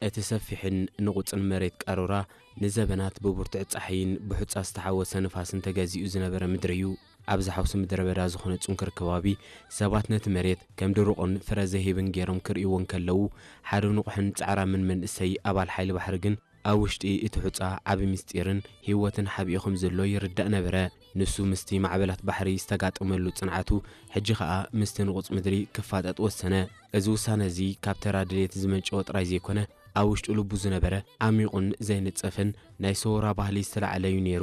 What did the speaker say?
እቲ ሰፊሕን ንቑጽን መሬት ቃሮራ ንዘበናት ብብርቱዕ ጻሕይን ብሑጻ ዝተሓወሰ ንፋስን ተገዚኡ ዝነበረ ምድሪ እዩ። ኣብዚ ሓውሲ ምድረ በዳ ዝኾነ ጽንኩር ከባቢ ሰባት ነቲ መሬት ከም ድሩቕን ፍረ ዘይህብን ገይሮም ክርእይዎ እንከለዉ፣ ሓደ ንቑሕን ጻዕራምን መንእሰይ ኣባል ሓይሊ ባሕሪ ግን ኣብ ውሽጢ እቲ ሑጻ ዓቢ ምስጢርን ህይወትን ሓቢኡ ከም ዘሎ ይርዳእ ነበረ። ንሱ ምስቲ ማዕበላት ባሕሪ ዝተጋጠመሉ ጽንዓቱ፣ ሕጂ ኸኣ ምስቲ ንቑጽ ምድሪ ክፋጠጥ ወሰነ። እዚ ውሳነ እዚ ካብ ተራ ድሌት ዝመንጨወ ጥራይ ዘይኮነ፣ ኣብ ውሽጡ ልቡ ዝነበረ ዓሚቑን ዘይንጸፍን ናይ ሰውራ ባህሊ ዝተላዕለ እዩ ነይሩ።